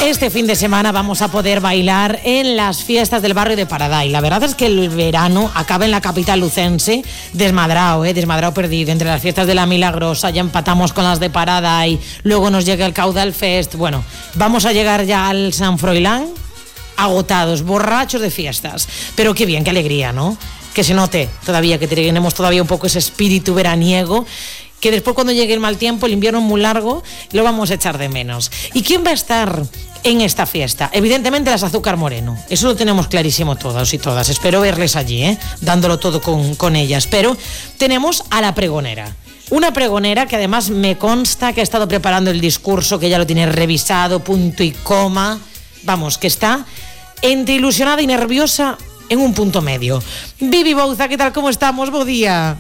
Este fin de semana vamos a poder bailar en las fiestas del barrio de Paraday. La verdad es que el verano acaba en la capital lucense desmadrado, desmadrado perdido. Entre las fiestas de la Milagrosa ya empatamos con las de Paraday, luego nos llega el Caudal Fest. Bueno, vamos a llegar ya al San Froilán agotados, borrachos de fiestas. Pero qué bien, qué alegría, ¿no? Que se note todavía, que tenemos todavía un poco ese espíritu veraniego, que después cuando llegue el mal tiempo, el invierno es muy largo, lo vamos a echar de menos. ¿Y quién va a estar en esta fiesta? Evidentemente las Azúcar Moreno, eso lo tenemos clarísimo todos y todas. Espero verles allí, dándolo todo con ellas. Pero tenemos a la pregonera. Una pregonera que además me consta que ha estado preparando el discurso, que ya lo tiene revisado, punto y coma. Vamos, que está entre ilusionada y nerviosa en un punto medio. Vivi Bouza, ¿qué tal? ¿Cómo estamos? Bo día.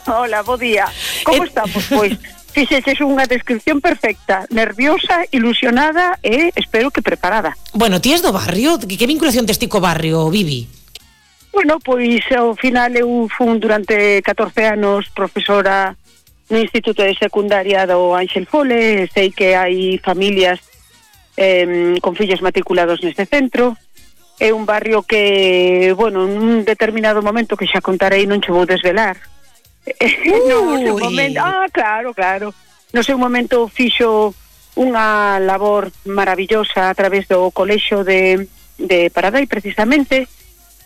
Hola, bo día. Como estamos, pois? Fixeches unha descripción perfecta. Nerviosa, ilusionada e espero que preparada. Bueno, ti és do barrio? Que vinculación tes ti co barrio, Vivi? Bueno, pois ao final eu fun durante 14 anos profesora no Instituto de Secundaria do Ángel Fole. Sei que hai familias con fillos matriculados neste centro. É un barrio que, bueno, nun determinado momento que xa contarei, non che vou desvelar. No seu momento, claro. No seu momento fixo unha labor maravillosa a través do colexio de Paraday, precisamente.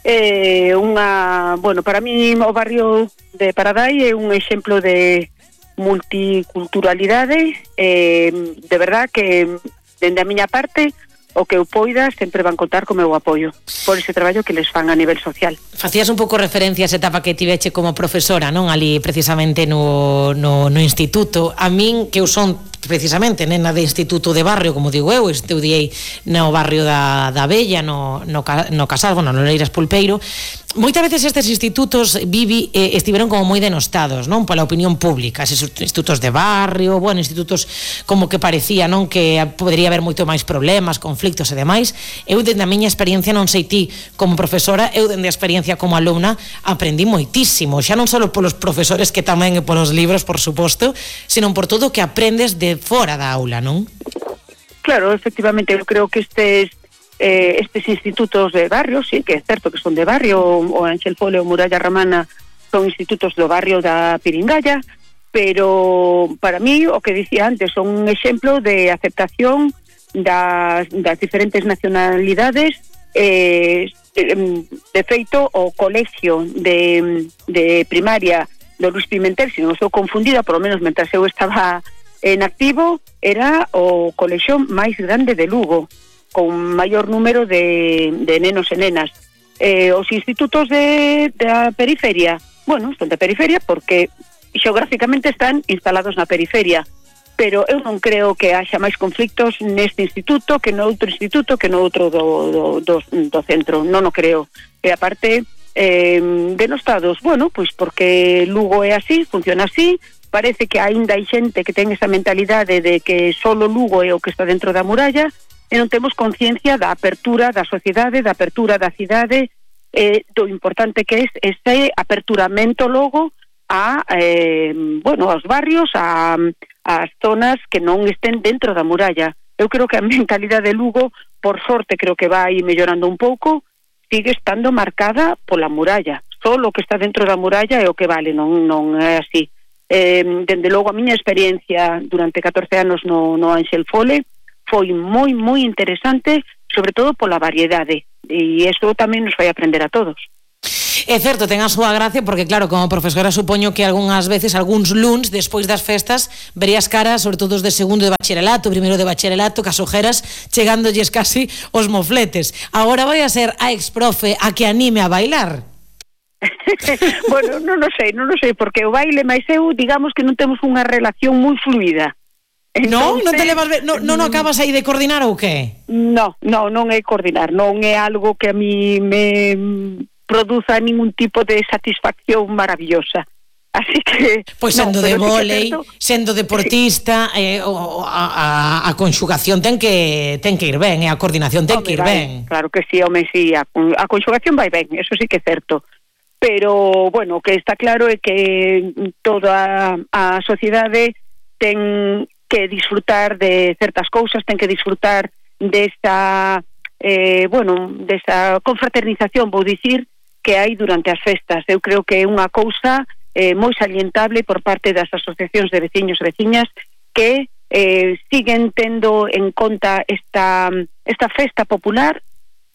Para mí o barrio de Paraday é un exemplo de multiculturalidade. De verdad que, dende a miña parte, o que eu poida sempre van contar co meu apoio por ese traballo que les fan a nivel social. Facías un pouco referencia a esa etapa que tiveche como profesora, non? Ali precisamente no instituto. A min, que eu son precisamente nena de instituto de barrio, como digo eu, estudiei no barrio da Bella, no Casal, bueno, no Leiras Pulpeiro. Moitas veces estes institutos, Vivi, estiveron como moi denostados, non? Pola opinión pública, esos institutos de barrio, bueno, institutos como que parecía, non? Que podería haber moito máis problemas, conflictos e demais. Eu, dende a miña experiencia, non sei ti como profesora, eu dende a experiencia como alumna aprendí moitísimo, xa non só polos profesores, que tamén e polos libros, por suposto, senón por todo o que aprendes de fora da aula, non? Claro, efectivamente, eu creo que estes institutos de barrio, sí, que é certo que son de barrio, o Ángel Fole ou Muralla Romana son institutos do barrio da Piringalla, pero para mí, o que dicía antes, son un exemplo de aceptación das diferentes nacionalidades. De feito, o colexio de primaria do Luis Pimentel, se non estou confundida, por lo menos mentras eu estaba en activo, era o colexio máis grande de Lugo, con maior número de nenos e nenas. Os institutos da periferia, bueno, son da periferia porque xeográficamente están instalados na periferia, pero eu non creo que haxa máis conflictos neste instituto que no outro instituto, que no outro do centro. Non o creo. E aparte, denostados, bueno, pois porque Lugo é así, funciona así. Parece que aínda hai xente que ten esa mentalidade de que solo Lugo é o que está dentro da muralla, e non temos conciencia da apertura da sociedade, da apertura da cidade, do importante que é ese aperturamento logo aos barrios, ás zonas que non estén dentro da muralla. Eu creo que a mentalidade de Lugo, por sorte, creo que vai mellorando un pouco, sigue estando marcada pola muralla. Só o que está dentro da muralla é o que vale, non é así. Dende logo, a miña experiencia durante 14 anos no Ángel Fole foi moi interesante, sobre todo pola variedade, e isto tamén nos vai aprender a todos. É certo, ten a súa gracia, porque claro, como profesora supoño que algunhas veces, algúns luns despois das festas, verías caras, sobre todo os de segundo de bacharelato, primeiro de bacharelato, cas ojeras chegándolles casi os mofletes. Agora vai a ser a exprofe a que anime a bailar. Bueno, non o sei, porque o baile máis eu, digamos que non temos unha relación moi fluida. Entonces, non te levas non acabas aí de coordinar ou que? Non é coordinar, non é algo que a mí me produza ningún tipo de satisfacción maravillosa. Así que pois sendo de vólei, sendo deportista, a conxugación ten que ir ben, e a coordinación ten que ir ben. Claro que sí, sí, a conxugación vai ben, eso sí que é certo. Pero, bueno, o que está claro é que toda a sociedade ten que disfrutar de certas cousas, ten que disfrutar desa confraternización, vou dicir, que hai durante as festas. Eu creo que é unha cousa moi salientable por parte das asociacións de veciños e veciñas que siguen tendo en conta esta festa popular.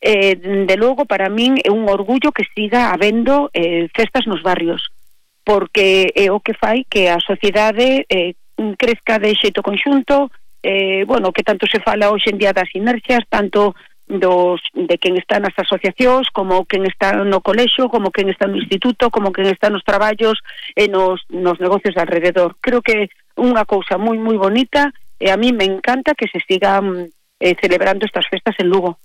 De logo, para min é un orgullo que siga habendo festas nos barrios, porque é o que fai que a sociedade crezca de xeito conxunto, que tanto se fala hoxe en día das inercias, tanto de quen está nas asociacións, como quen está no colexio, como quen está no instituto, como quen está nos traballos e nos negocios de alrededor. Creo que é unha cousa moi moi bonita e a mí me encanta que se sigan celebrando estas festas en Lugo.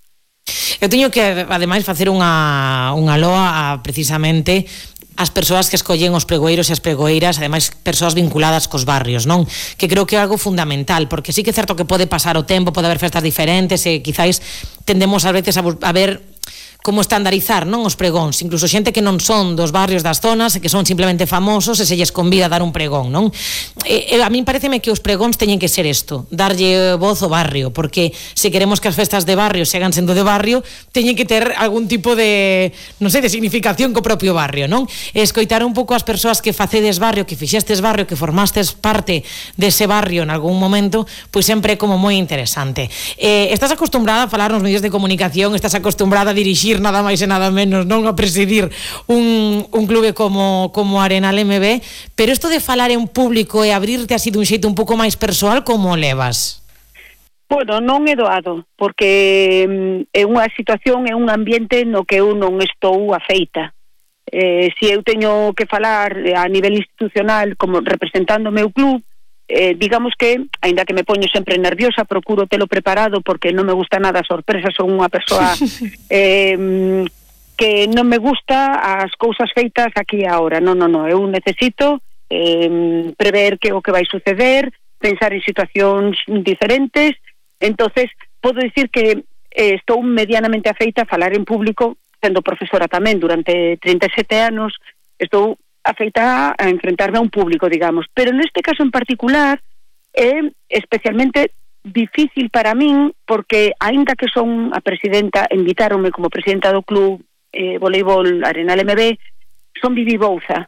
Eu teño que, ademais, facer unha loa a, precisamente, as persoas que escollen os pregoeiros e as pregoeiras, ademais persoas vinculadas cos barrios, non? Que creo que é algo fundamental, porque sí que é certo que pode pasar o tempo, pode haber festas diferentes e quizáis tendemos ás veces a ver como estandarizar, non, os pregóns, incluso xente que non son dos barrios das zonas e que son simplemente famosos e se lles convida a dar un pregón, non? A min pareceme que os pregóns teñen que ser isto, darlle voz ao barrio, porque se queremos que as festas de barrio sigan sendo de barrio, teñen que ter algún tipo de, non sei, de significación co propio barrio, non? E escoitar un pouco as persoas que facedes barrio, que fixestes barrio, que formastes parte dese barrio en algún momento, pois sempre é como moi interesante. Estás acostumbrada a falar nos medios de comunicación, estás acostumbrada a dirixir nada máis e nada menos, non a presidir un clube como Arenal MB, pero isto de falar en público e abrirte así dun xeito un pouco máis persoal, como levas? Bueno, non é doado, porque é unha situación, é un ambiente no que eu non estou afeita. Se eu teño que falar a nivel institucional como representando o meu club, digamos que, aínda que me poño sempre nerviosa, procuro telo preparado porque non me gusta nada a sorpresa, son unha persoa que non me gusta as cousas feitas aquí e agora. Non, eu necesito prever que o que vai suceder, pensar en situacións diferentes. Entonces, podo dicir que estou medianamente afeita a falar en público, sendo profesora tamén durante 37 anos, estou afeita a enfrentarme a un público, digamos. Pero neste caso en particular é especialmente difícil para min, porque aínda que son a presidenta, invitáronme como presidenta do club voleibol Arenal MB, son Vivi Bouza,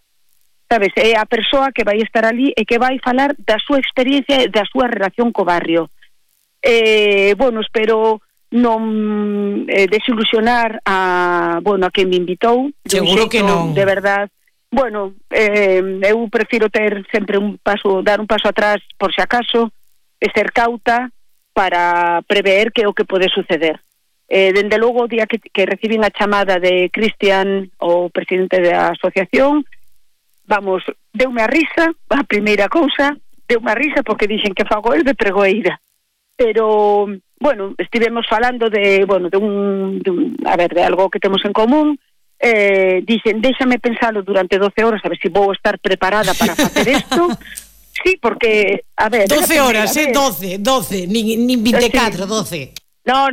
sabes? É a persoa que vai estar ali e que vai falar da súa experiencia e da súa relación co barrio. Espero non desilusionar a quen me invitou. Seguro que non. De verdad. Eu prefiro ter sempre dar un paso atrás por si acaso e ser cauta para prever que o que pode suceder. Dende logo, o día que recibín a chamada de Cristian, o presidente da asociación, deume a risa, a primeira cousa, deume a risa porque dixen que fago el de pregoeira. Pero, estivemos falando de algo que temos en común. Dixen, déxame pensalo durante 12 horas a ver se vou estar preparada para facer isto. Sí, porque, 12 horas, 12, nin 24, 12. No,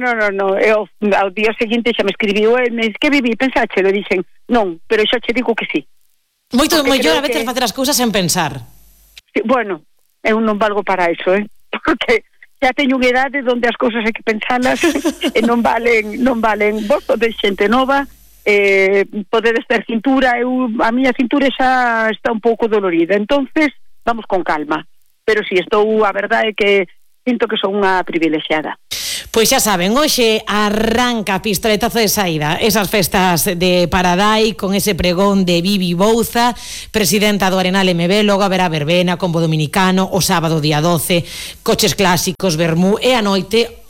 eu ao día seguinte xa me escribiu me dice, que Vivi, pensache? Le dixen, non, pero xa che digo que sí. Moito mellor a veces facer as cousas sen pensar. Sí, eu non valgo para eso, porque xa teño unha idade onde as cousas hai que pensalas e non valen vos de xente nova. Podedes ter cintura, a miña cintura xa está un pouco dolorida, entonces vamos con calma, pero si a verdade é que sinto que son unha privilexiada. Pois xa saben, hoxe arranca pistoletazo de saída esas festas de Paradai con ese pregón de Vivi Bouza, presidenta do Arenal MB. Logo haberá verbena, combo dominicano, o sábado día 12, coches clásicos, vermú, e a noite,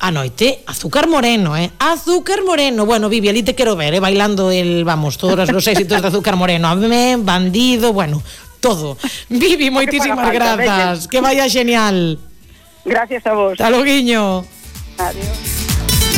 azúcar moreno, azúcar moreno. Bueno, Vivi, ali te quero ver, bailando todos os éxitos de azúcar moreno, Amén, Bandido, todo. Vivi, moitísimas grazas, que vaya genial. Gracias a vos. Hasta loguiño. Adiós.